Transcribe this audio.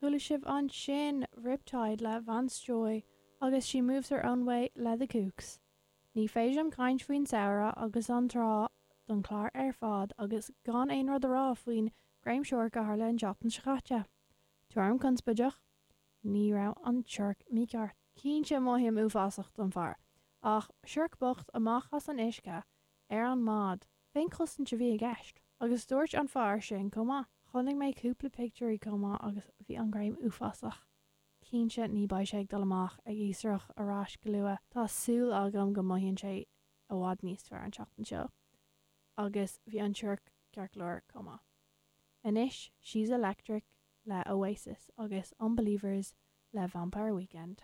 Chuala sibh ansin Riptide le Vance Joy agus She Moves Her Own Way le The Kooks. Ní féidir liom caint faoin samhradh agus an trá don chlár ar fad agus gan aon rud a rá faoin greim siorc a tharla an tseachtain seo caite. Tuairim conspóideach, ní raibh an siorc mícheart. Cinnte mothaím uafásach don fear, ach siorc bocht amach as an uisce ar an mbád. Féinchosaint a bhí i gceist. Agus dúirt an fear sin chomh maith. Chonaic mé cúpla pictiúirí chomh maith agus bhí an greim uafásach. Cinnte ní beidh sé ag dul amach ag iascaireacht ar ais go luath. Tá súil agam go mothaíonn sé i bhfad níos fearr an tseachtain seo. Agus bhí an siorc ceart go leor chomh maith. Anois She's Electric le Oasis agus Unbelievers le Vampire Weekend.